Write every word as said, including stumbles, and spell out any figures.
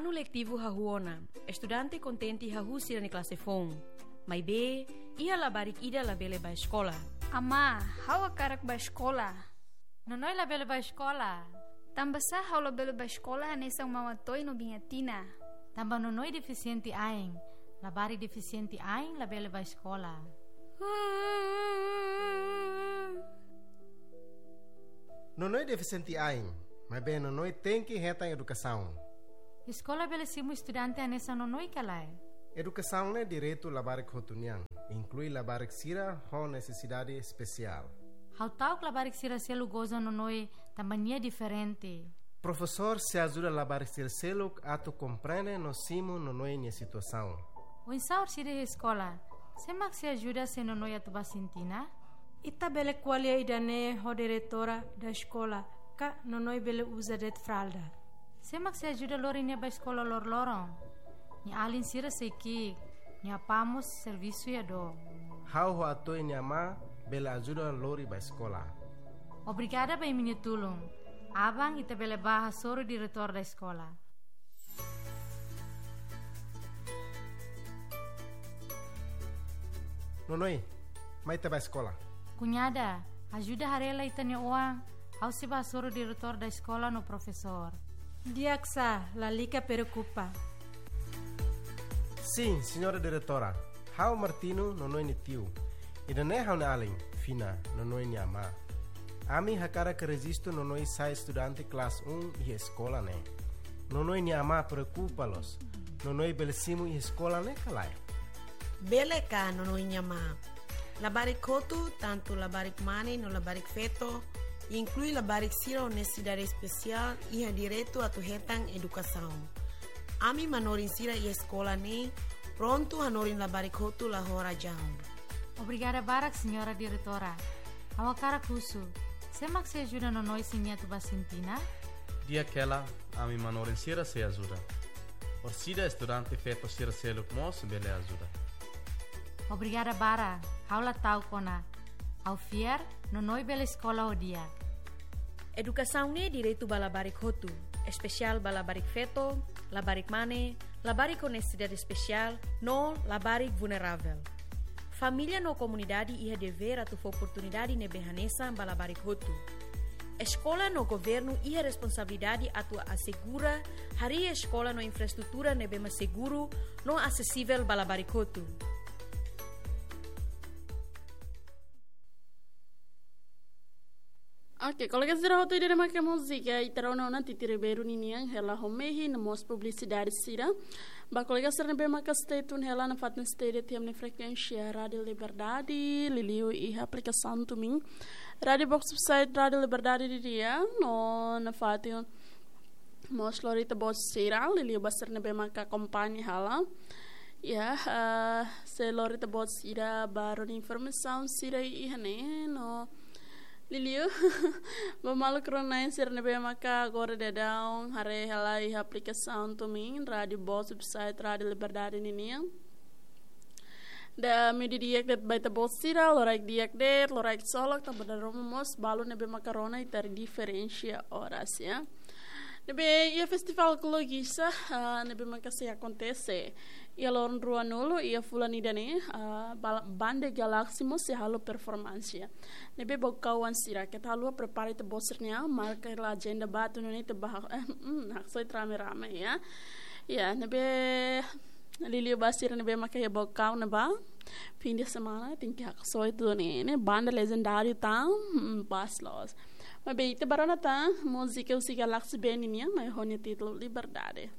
Anu letivu hahú ona, estudante kontente hahú sira-nia klase foun. Maibé, iha labarik ida labele bá eskola. Amá, ha'u hakarak bá eskola. Nonoi labele bá eskola. Tanbasá ha'u labele bá eskola hanesan Mama Toy no Biña Tina? Tanba Nonoi defisiente ain. Labarik defisiente ain labele bá eskola. Nonoi defisiente ain, maibé Nonoi tenke hetan edukasaun. Eskola bele simu estudante hanesan Nonoi ka lae? Edukasaun ne'e direitu labarik hotu nian, inklui labarik sira ho nesesidade espesiál. Ha'u ta'uk labarik sira seluk goza Nonoi tanba nia diferente. Profesór sei ajuda labarik sira seluk atu komprende no simu Nonoi nia situasaun. Oinsá orsida iha eskola, sé mak sei ajuda se Nonoi atu bá sintina? Ita bele ko'alia ida-ne'e ho diretora da eskola, ka Nonoi bele uza de'it fralda. Sé mak sei ajuda lori nia bá eskola loroloron? Nia alin sira sei ki'ik, nia apá mós servisu iha dook. Ha'u ho Atoy nia amá bele ajuda lori bá eskola. Obrigada ba imi-nia tulun. Aban ita bele bá hasoru diretór da eskola. Nonoi, mai ita bá eskola. Kuñada, ajuda haree lai ita-nia oan, ha'u sei bá hasoru diretór da eskola no profesór. Di'ak sá, lalika preokupa. Sin, señora diretora. Ha'u Martino, Nonoi nia tiu. Ida-ne'e ha'u-nia alin, Fina, Nonoi nia amá. Ami hakarak rejistu Nonoi sai estudante klase um iha eskola ne'e. Nonoi nia amá preokupa loos. Nonoi bele simu iha eskola ne'e ka lae? Bele ka, Nonoi nia amá? Labarik hotu, tantu labarik mane no labarik feto, inklui labarik sira ho nesesidade espesiál, iha direitu atu hetan edukasaun. Ami manorin sira iha eskola ne'e prontu hanorin labarik hotu la ho razaun. Obrigada barak, señora diretora. Ha'u hakarak husu, sé mak sei ajuda Nonoi se nia atu bá sintina? Di'ak hela, ami manorin sira sei ajuda. Orsida estudante feto sira seluk mós bele ajuda. Obrigada barak, ha'u la ta'uk ona. Ha'u fiar, Nonoi bele eskola ho di'ak. Edukasaun ne'e direitu ba labarik hotu, espesiál ba labarik feto, labarik mane, labarik ho nesesidade espesiál, no labarik vulneravel. Família no komunidade iha devér atu fó oportunidade ne'ebé hanesan ba labarik hotu. Eskola no governu iha responsabilidade atu asegura harii eskola no infraestrutura ne'ebé mak seguru no asesivel ba labarik hotu. Oke, kolega sira hotu, ida-ne'e maka múzika ita rona ona Titi Ribeiro ninian, hela ho mehi no mós publisidade sira. Ba kolega sira ne'ebé maka stay tune hela nafatin stay de'it iha imi-nia frekuénsia Rádio Liberdade, liuliu iha aplikasaun TuneIn. Rádio Box website Rádio Liberdade nian, no nafatin mós lori ita-boot sira, liuliu ba sira ne'ebé maka akompaña hela. Ya, eh, sei lori ita-boot sira ba rona informasaun sira iha ne'e, no liuliu ba maluk rona-na'in sira ne'ebé maka agora daudaun haree hela iha aplikasaun TuneIn, Rádio Box website Rádio Liberdade ninian. Ida-ne'e di'ak de'it ba ita-boot sira, loraik di'ak de'it, loraik solok, tanba dala ruma mós balu ne'ebé maka rona ita diferensia oras, ya. Ne'ebé iha festivál Kologixa, ah, ne'ebé maka sei akontese iha loron ruanulu iha fulan ida-ne'e, ah, bala-, banda Galaxy mós sei halo performánsia. Ne'ebé ba kawan sira, keta haluha prepara ita-boot sira-nia, marka hela ajenda ba atu nune'e ita bá, eh, mm, haksoit rame-rame, ya. Ya, ne'ebé liuliu ba sira ne'ebé maka iha Baucau ne'ebá, fim de semana tenke haksoit duni, ne'e banda legendáriu tan, hmm, pas loos. Maibé ita bá rona tan múzika husi Galaxy Band nian, mai ho nia títulu Liberdade.